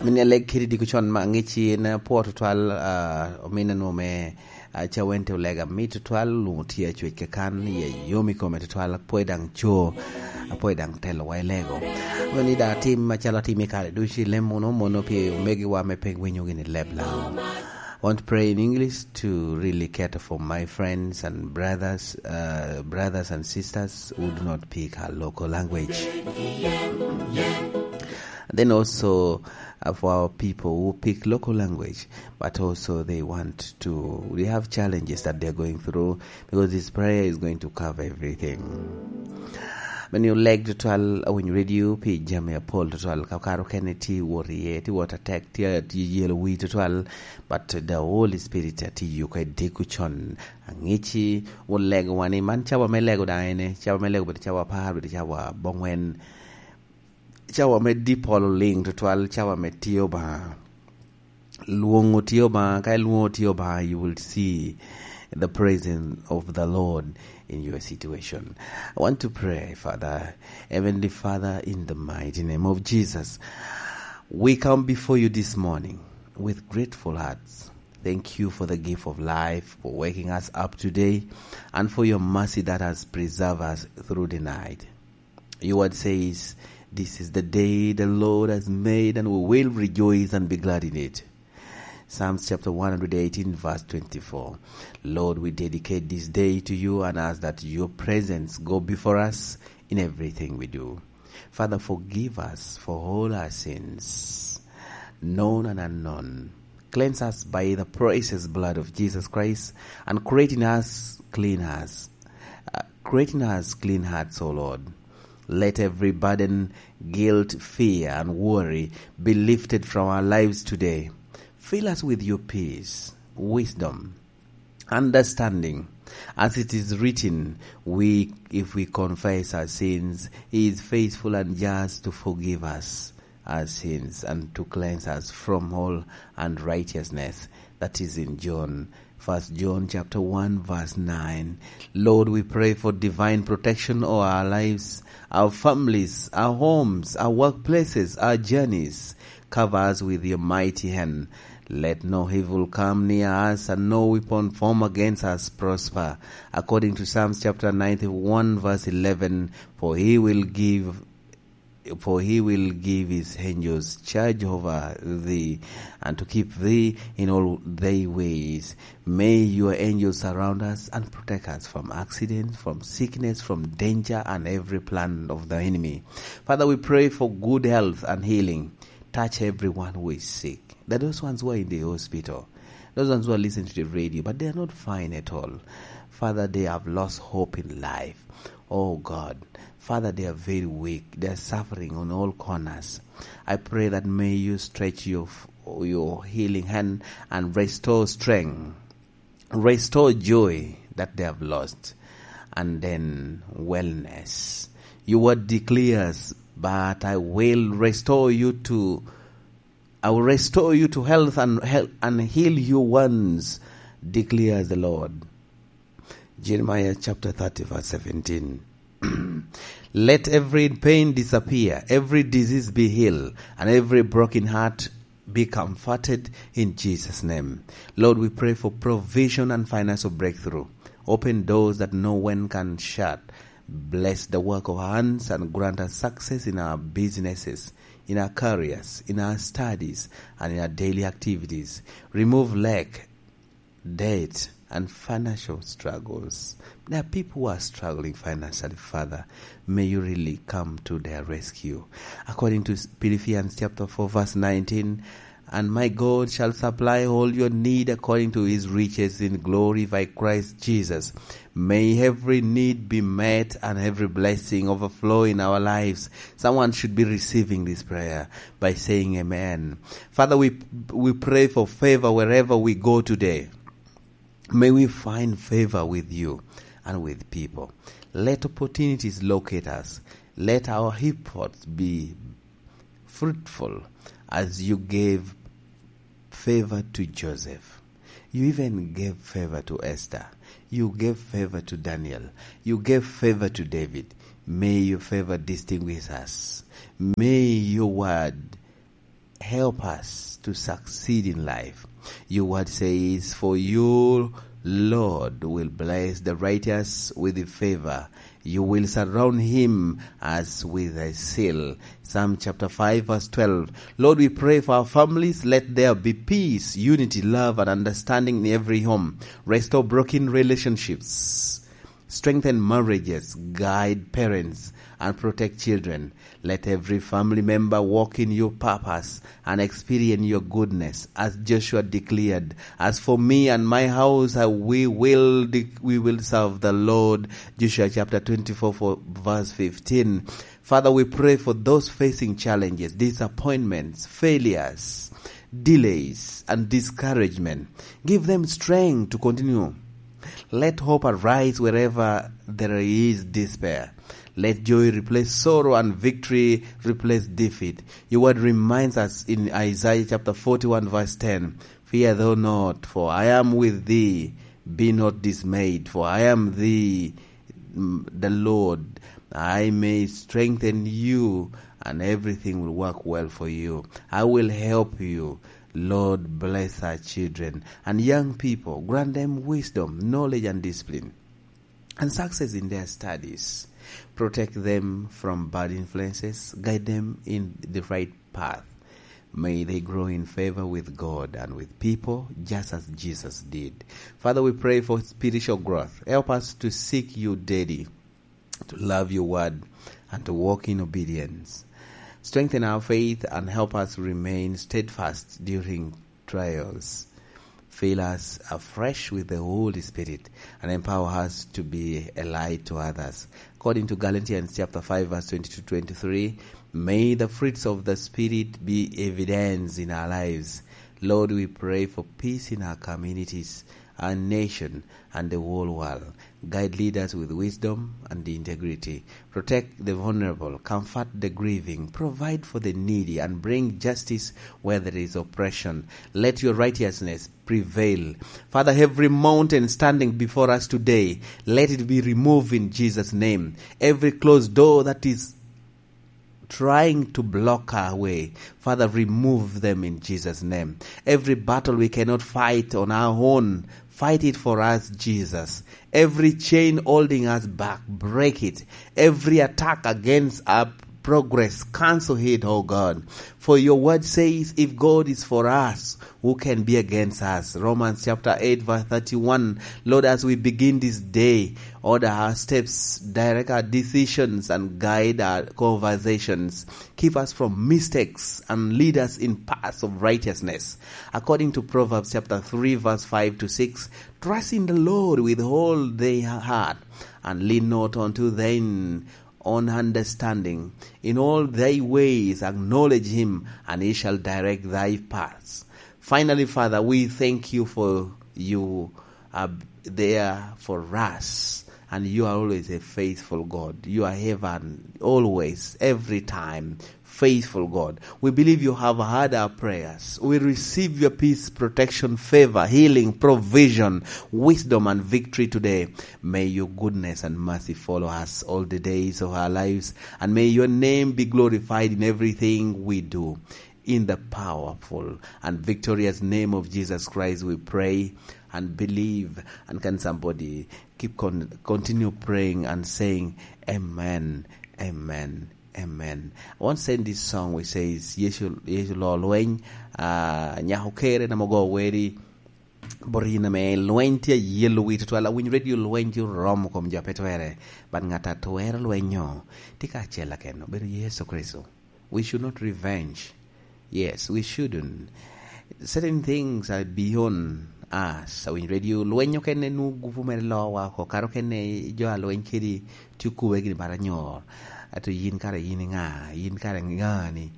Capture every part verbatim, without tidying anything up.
Min aleg kede diko con ma angec en apwo tutwal, ah, omin anwo me, ah, Cawente olega mit tutwal, onwoŋo tye acwec kakan, iye yom i kome tutwal, apwoyo daŋ co, apwoyo daŋ telowa i lego. Meno ni daŋ atim macalo atim i kare ducu i lem muno, mono pi omegiwa me pe winyo gini leb Laŋo. I want to pray in English to really cater for my friends and brothers, uh, brothers and sisters who do not speak our local language. Then also, uh, for our people who speak local language, but also they want to, they have challenges that they're going through, because this prayer is going to cover everything. Meno ni oleg tutwal, awinyo radio pi jami apol tutwal, ka kare okene tye wot iye, tye wot atek, tye, tye yelo wii tutwal, but the Holy Spirit atiyo ka idiko con. Aŋici olego wa ni man cawa me lego daŋ ene, cawa me lego bedo cawa apar, bedo cawa abongwen, cawa me di polo liŋ tutwal, cawa me tye Obaŋa. Lwoŋo tye Obaŋa, ka ilwoŋo tye Obaŋa, you will see the presence of the Lord in your situation. I want to pray, Father, Heavenly Father, in the mighty name of Jesus. We come before you this morning with grateful hearts. Thank you for the gift of life, for waking us up today, and for your mercy that has preserved us through the night. Your word says, "This is the day the Lord has made, and we will rejoice and be glad in it." Psalms chapter one hundred eighteen, verse twenty-four. Lord, we dedicate this day to you and ask that your presence go before us in everything we do. Father, forgive us for all our sins, known and unknown. Cleanse us by the precious blood of Jesus Christ and create in us clean hearts. Uh, create in us clean hearts, O Lord. Let every burden, guilt, fear, and worry be lifted from our lives today. Fill us with your peace, wisdom, understanding. As it is written, we, if we confess our sins, he is faithful and just to forgive us our sins and to cleanse us from all unrighteousness. That is in John, First John chapter one, verse nine. Lord, we pray for divine protection over our lives, our families, our homes, our workplaces, our journeys. Cover us with your mighty hand. Let no evil come near us, and no weapon formed against us prosper. According to Psalms chapter ninety-one, verse eleven, "For he will give, for he will give his angels charge over thee, and to keep thee in all thy ways. May your angels surround us and protect us from accidents, from sickness, from danger, and every plan of the enemy." Father, we pray for good health and healing. Touch everyone who is sick. That those ones who are in the hospital, those ones who are listening to the radio, but they are not fine at all. Father, they have lost hope in life. Oh God, Father, they are very weak. They are suffering on all corners. I pray that may you stretch your, your healing hand and restore strength. Restore joy that they have lost, and then wellness. Your word declares, "But I will restore you to, I will restore you to health and health and heal your wounds," declares the Lord. Jeremiah chapter thirty, verse seventeen. "Let every pain disappear, every disease be healed, and every broken heart be comforted in Jesus' name." Lord, we pray for provision and financial breakthrough. Open doors that no one can shut. Bless the work of our hands and grant us success in our businesses, in our careers, in our studies, and in our daily activities. Remove lack, debt, and financial struggles. There are people who are struggling financially, Father. May you really come to their rescue. According to Philippians chapter four, verse nineteen, "And my God shall supply all your need according to his riches in glory by Christ Jesus." May every need be met and every blessing overflow in our lives. Someone should be receiving this prayer by saying amen. Father, we, we pray for favor wherever we go today. May we find favor with you and with people. Let opportunities locate us. Let our efforts be fruitful as you gave favor to Joseph. You even gave favor to Esther. You gave favor to Daniel. You gave favor to David. May your favor distinguish us. May your word Help us to succeed in life. Your word says, "For you, Lord, will bless the righteous with favor. You will surround him as with a seal." Psalm chapter five, verse twelve. Lord, we pray for our families. Let there be peace, unity, love, and understanding in every home. Restore broken relationships. Strengthen marriages, guide parents, and protect children. Let every family member walk in your purpose and experience your goodness, as Joshua declared, "As for me and my house, I, we will de-, we will serve the Lord." Joshua chapter twenty-four, for verse fifteen. Father, we pray for those facing challenges, disappointments, failures, delays, and discouragement. Give them strength to continue. Let hope arise wherever there is despair. Let joy replace sorrow and victory replace defeat. Your word reminds us in Isaiah chapter forty-one, verse ten, "Fear thou not, for I am with thee. Be not dismayed, for I am thee, mm, the Lord. I may strengthen you, and everything will work well for you. I will help you." Lord, bless our children and young people. Grant them wisdom, knowledge, and discipline, and success in their studies. Protect them from bad influences. Guide them in the right path. May they grow in favor with God and with people, just as Jesus did. Father, we pray for spiritual growth. Help us to seek you daily, to love your word, and to walk in obedience. Strengthen our faith and help us remain steadfast during trials. Fill us afresh with the Holy Spirit and empower us to be a light to others. According to Galatians chapter five, verse twenty-two, twenty-three, may the fruits of the Spirit be evidence in our lives. Lord, we pray for peace in our communities, our nation, and the whole world. Guide leaders with wisdom and integrity. Protect the vulnerable, comfort the grieving, provide for the needy, and bring justice where there is oppression. Let your righteousness prevail. Father, every mountain standing before us today, let it be removed in Jesus' name. Every closed door that is trying to block our way, Father, remove them in Jesus' name. Every battle we cannot fight on our own, fight it for us, Jesus. Every chain holding us back, break it. Every attack against our progress, cancel it, oh God. For your word says, "If God is for us, who can be against us?" Romans chapter eight, verse thirty-one. Lord, as we begin this day, order our steps, direct our decisions, and guide our conversations. Keep us from mistakes and lead us in paths of righteousness. According to Proverbs chapter three, verse five to six, "Trust in the Lord with all thy heart, and lean not unto thine own understanding. In all thy ways acknowledge him, and he shall direct thy paths." Finally, Father, we thank you for you are there for us, and you are always a faithful God. You are ever, always, every time, faithful God. We believe you have heard our prayers. We receive your peace, protection, favor, healing, provision, wisdom, and victory today. May your goodness and mercy follow us all the days of our lives, and may your name be glorified in everything we do. In the powerful and victorious name of Jesus Christ, we pray and believe. And can somebody keep con-, continue praying and saying, "Amen, amen, amen." I want to send this song which says, "Yesu, Yesu lo lweny, ah, nyako kere na mogo weri, bot yin ame lweny tye ayelo wi tutwal." Awinyo radio lweny tye oromo kom jo pe twere, but ngat a twero lwenyo tye kacel akeno, obedo Yesu Kricito. We should not revenge. Yes, we shouldn't. Certain things are beyond us. Awinyo radio lweny okene nwo gupu mere lowa oko, kara okene jo a lweny kedi tye okube gini bala nyor. Ato yin kara yin ŋa? Yin kara ŋa ni?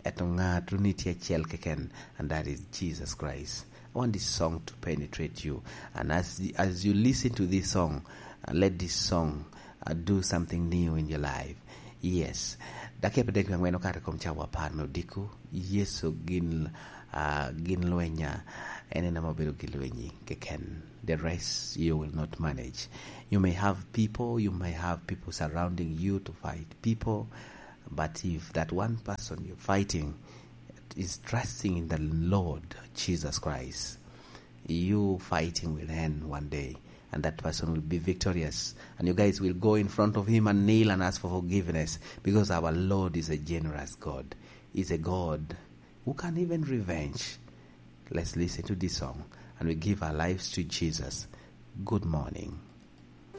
Eto ŋa tuni tye acel keken, and that is Jesus Christ. I want this song to penetrate you. And as, as you listen to this song, uh, let this song, uh, do something new in your life. Yes. Dakika apar dek wie angwen okato i kom cawa apar me odiko. Yecu gin, uh, gin lwenya. En en ame obedo gi lwenyi keken. The rest you will not manage. You may have people, you may have people surrounding you to fight people, but if that one person you're fighting is trusting in the Lord Jesus Christ, your fighting will end one day, and that person will be victorious. And you guys will go in front of him and kneel and ask for forgiveness, because our Lord is a generous God. He's a God who can even revenge. Let's listen to this song and we give our lives to Jesus. Good morning.